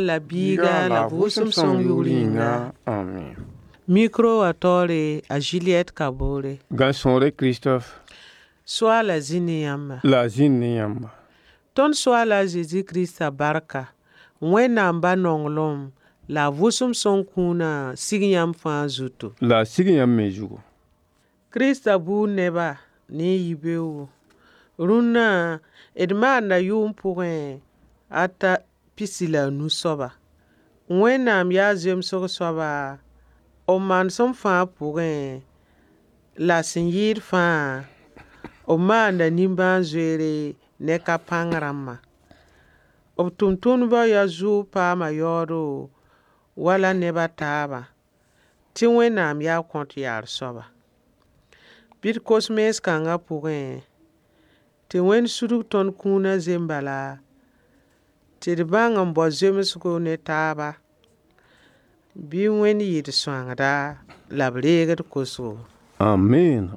La Biiga la Vʋʋsem Sõng yʋʋr yĩnga. Amen. Micro wã taoore a Juliette Kabore. Gãn-sõore Christophe. Soaala zĩ ne yãmba. La a zĩnd ne yãmba. Tõnd Soaala a Zezi Krista barka, Wẽnnaam Ba nonglem la a Vʋʋsem Sõng kũunã sig yãmb fãa zutu. La a sig yãmb me zugu. Krista buud neba ne y yibeoogo. Rũnnã d maanda yʋʋm pʋgẽ ata pisi la a nu soaba. Wẽnnaam yaa zemsg soaba b manesem fãa pʋgẽ la sẽn yɩɩd fãa b maanda nimbãan-zoeere ne ka pãng rãmbã. B tʋmtʋmdbã yaa zʋʋg paama yaoodo wala neb a taabã tɩ Wẽnnaam yaa kõt yaar soaba. Bɩ d kos mens kãngã pʋgẽ tɩ Wẽnd sudg tõnd kũunã zembala tɩ d bãng n bao zemsgo ne taaba. Bɩ Wẽnd yɩ d sõangda la b reeg d kosgo. Amen.